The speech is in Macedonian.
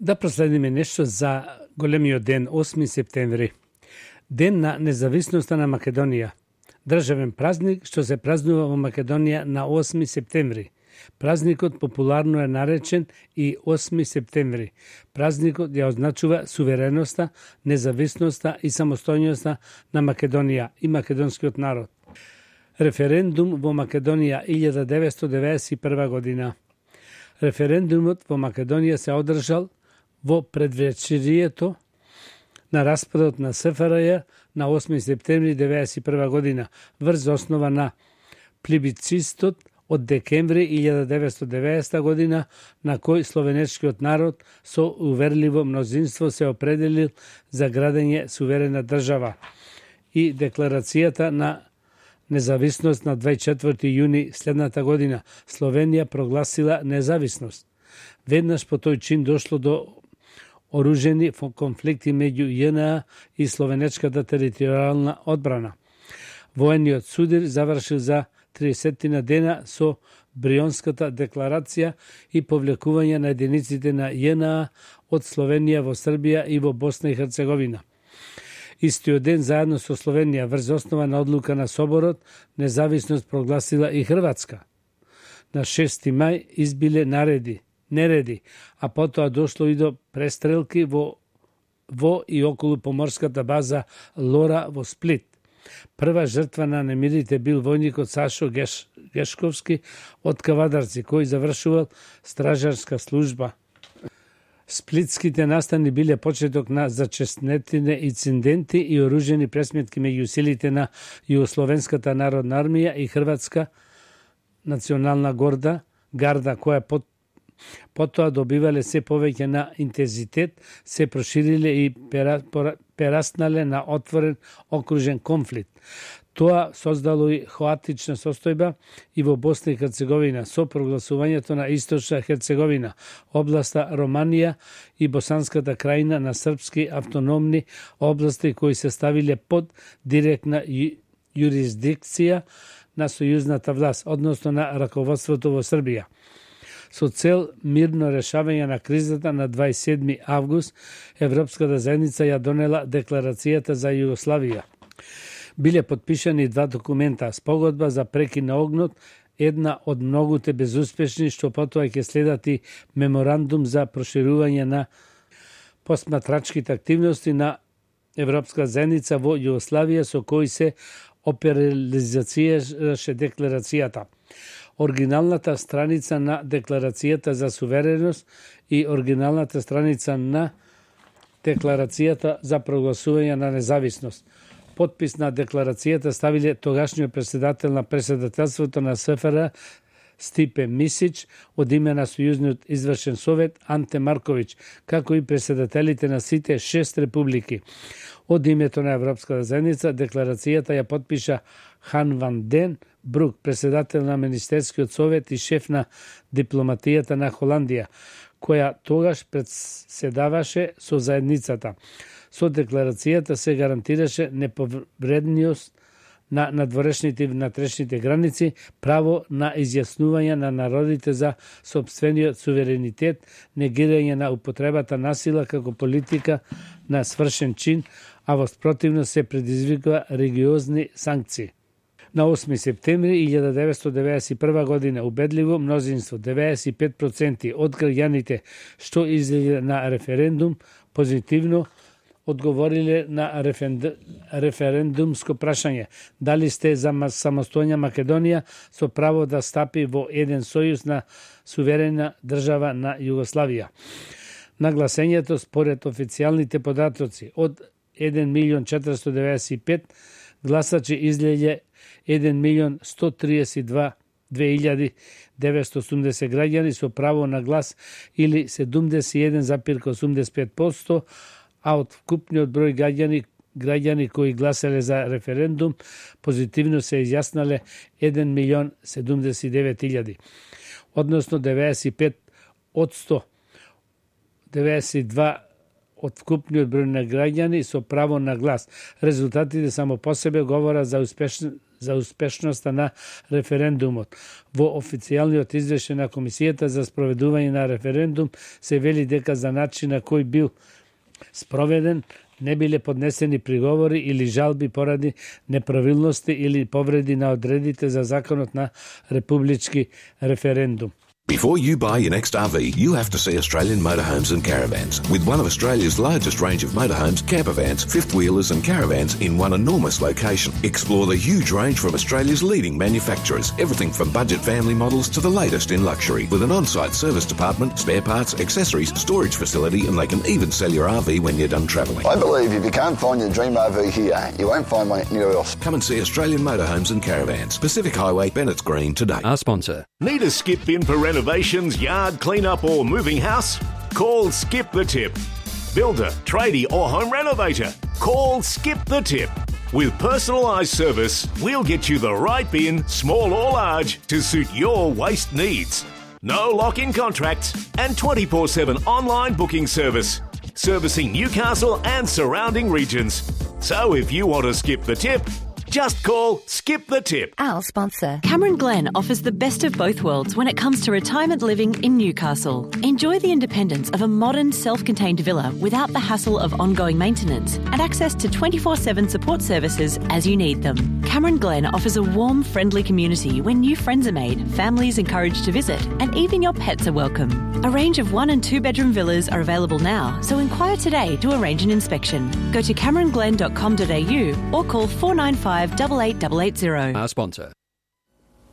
Да проследиме нешто за големиот ден, 8 септември. Ден на независноста на Македонија. Државен празник што се празнува во Македонија на 8 септември. Празникот популарно е наречен и 8 септември. Празникот ја означува сувереноста, независноста и самостојноста на Македонија и македонскиот народ. Референдум во Македонија 1991 година. Референдумот во Македонија се одржал во предвечерието на распадот на СФРЈ на 8 септември 1991 година врз основа на плебисцитот од декември 1990 година на кој словенечкиот народ со уверливо мнозинство се определил за градење суверена држава и декларацијата на независност на 24 јуни следната година Словенија прогласила независност. Веднаш по тој чин дошло до оружени конфликти меѓу ЈНА и словенечката територијална одбрана. Воениот судир завршил за 30 дена со Брионската декларација и повлекување на единиците на ЈНА од Словенија во Србија и во Босна и Херцеговина. Истиот ден заедно со Словенија врз основа на одлука на Соборот независност прогласила и Хрватска. На 6 мај избиле нереди, а потоа дошло и до престрелки во и околу поморската база Лора во Сплит. Прва жртва на немирите бил војникот Сашо Гешковски од Кавадарци, кој завршувал стражарска служба. Сплитските настани биле почеток на зачестнетите инциденти и оружени пресметки меѓу силите на Југословенската народна армија и Хрватска национална гарда, која потоа добивале се повеќе на интензитет, се прошириле и пераснале на отворен окружен конфликт. Тоа создало и хаотична состојба и во Босна и Херцеговина со прогласувањето на Источна Херцеговина, областа Романија и Босанската крајна на српски автономни области кои се ставиле под директна јурисдикција на сојузната власт, односно на раководството во Србија. Со цел мирно решавање на кризата на 27 август, Европската заедница ја донела Декларацијата за Југославија. Биле подпишани два документа, спогодба за прекин на огнот, една од многуте безуспешни, што потоа ќе следат и меморандум за проширување на посматрачките активности на Европска заедница во Југославија, со кој се оперализацираше декларацијата. Оригиналната страница на Декларацијата за сувереност и оригиналната страница на Декларацијата за прогласување на независност. Подпис на декларацијата ставиле тогашниот председател на председателството на СФР Стипе Мисич од име на Сојузниот извршен совет Анте Марковиќ, како и председателите на сите 6 републики. Од името на Европската заедница декларацијата ја подпиша Хан Ван Ден Брук, председател на Министерскиот совет и шеф на дипломатијата на Холандија, која тогаш председаваше со заедницата. Со декларацијата се гарантираше неповредност на надворешните и внатрешните граници, право на изјаснување на народите за сопствениот суверенитет, негирање на употребата на сила како политика на свршен чин, а во спротивност се предизвикува религиозни санкции. На 8 септември 1991 година убедливо мнозинство, 95% од граѓаните што излегле на референдум, позитивно одговориле на референдумско прашање дали сте за самостојна Македонија со право да стапи во еден сојуз на суверена држава на Југославија. На гласењето според официјалните податоци од 1.495 гласачи излегле 1.132.980 граѓани со право на глас или 71,85%, а од вкупниот број граѓани кои гласеле за референдум, позитивно се изјаснале 1.079.000, односно 95%, 92% од вкупниот број на граѓани со право на глас. Резултатите само по себе говорат за за успешноста на референдумот. Во официјалниот извештај на Комисијата за спроведување на референдум се вели дека за начин на кој бил спроведен не биле поднесени приговори или жалби поради неправилности или повреди на одредите за законот на републички референдум. Before you buy your next RV, you have to see Australian Motorhomes and Caravans. With one of Australia's largest range of motorhomes, campervans, fifth-wheelers and caravans in one enormous location. Explore the huge range from Australia's leading manufacturers. Everything from budget family models to the latest in luxury. With an on-site service department, spare parts, accessories, storage facility, and they can even sell your RV when you're done travelling. I believe if you can't find your dream RV here, you won't find one anywhere else. Come and see Australian Motorhomes and Caravans. Pacific Highway, Bennett's Green today. Our sponsor. Need a skip in for renovations, yard cleanup or moving house? Call Skip the Tip. Builder, tradie or home renovator? Call Skip the Tip. With personalised service, we'll get you the right bin, small or large, to suit your waste needs. No lock-in contracts and 24/7 online booking service. Servicing Newcastle and surrounding regions. So if you want to skip the tip, just call Skip the Tip. Our sponsor. Cameron Glen offers the best of both worlds when it comes to retirement living in Newcastle. Enjoy the independence of a modern, self-contained villa without the hassle of ongoing maintenance and access to 24/7 support services as you need them. Cameron Glen offers a warm, friendly community where new friends are made, families encouraged to visit, and even your pets are welcome. A range of 1- and 2-bedroom villas are available now, so inquire today to arrange an inspection. Go to cameronglen.com.au or call 495 8880. Our sponsor.